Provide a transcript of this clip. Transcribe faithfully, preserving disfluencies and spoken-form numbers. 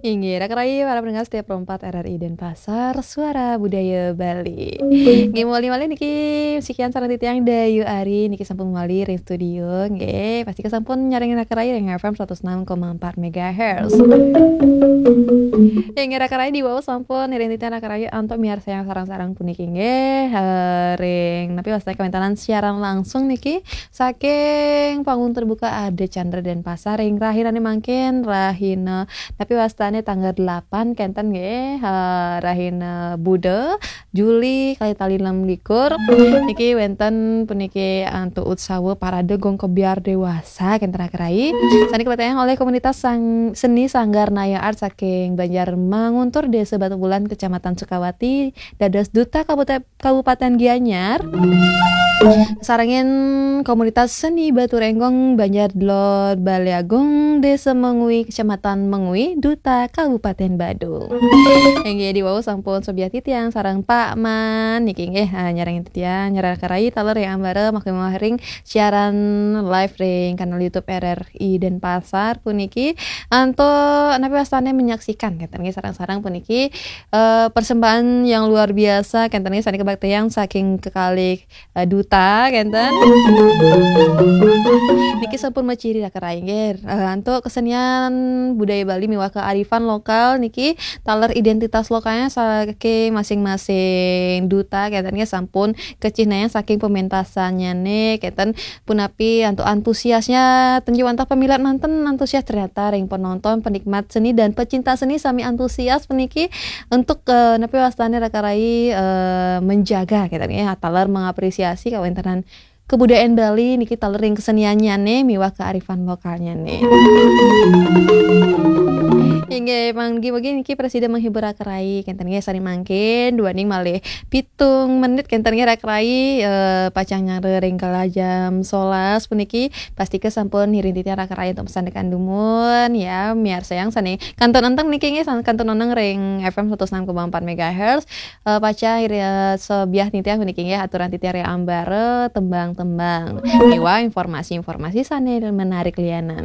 Inggih, raka rayi para pendengar setia Pro empat R R I Denpasar, Suara Budaya Bali. Nggih, mawali malih niki, sekian sareng titiang Dayu Ari niki sampun mawali ring studio, nggih, pastika sampun nyarengin raka rayi ring F M seratus enam koma empat megahertz. Inggih, raka rayi diwau sampun ngiring titiang raka rayi antuk miarsayang sareng-sareng puniki, nggih, eh, ring napi wastane kawéntenan siaran langsung niki saking Panggung Terbuka Adi Candra Denpasar ring rahinane mangkin, rahina napi wastane tanggal delapan kenten, nggih, eh, rahina Buda, Juli, kalih tali enam likur. Niki wénten puniki antuk utsawa parade gong kebyar dewasa kenten, raka rayi. Sane kapatayang olih komunitas sang-, seni Sanggar Naya Art saking Banjar Manguntur, Desa Batubulan, Kecamatan Sukawati, dados duta Kabupaten, Kabupaten Gianyar. Sarengin komunitas seni Batu Renggong, Banjar Dlor, Balai Agung, Desa Mengwi, Kecamatan Mengwi, duta Kabupaten Badung. Inggih, diwau sampun sobiah titiang sareng Pak Man niki, nggih, ah, nyarengin titiang, nyarengin raka rayi taler ring ambara mangkin mawali ring siaran live ring kanal YouTube R R I Denpasar puniki. Antuk napi wastane menyaksikan kenten, nggih, sareng-sareng puniki, eh, persembahan yang luar biasa kenten, nggih, sane kabaktiang saking kekalih, eh, duta kenten. Niki sampun maciri, raka rayi, nggih. Eh, antuk kesenian budaya Bali miwah kearifan lokal niki taler identitas lokalnya saking masing-masing duta kenten, nggih, sampun kacihnayang saking pementasannyane kenten, punapi antuk antusiasnya, ten wantah pamilet manten antusias, ternyata ring penonton, penikmat seni dan pecinta seni sami antusias puniki untuk, eh, napi wastane raka rayi, eh, menjaga kenten, nggih, taler mengapresiasi kawéntenan kebudayaan Bali niki taler ring keseniannyane miwah kearifan lokalnyane. Inggih, manggi-manggi niki prasida menghibur raka rayi kenten, nggih, sane mangkin duaning malih pitung menit kenten, nggih, raka rayi, eh, pacang nyanggra ring kala jam solas puniki, pastika sampun ngiring titiang raka rayi antuk masandekan dumun, ya, miarsayang sane kantun enteng niki, nggih, san-, kantun oneng ring F M seratus enam koma empat megahertz, eh, pacang iri, eh, sobiah titiang puniki, nggih, aturan titiang ring ambara tembang-tembang miwah informasi-informasi sane menarik lianan.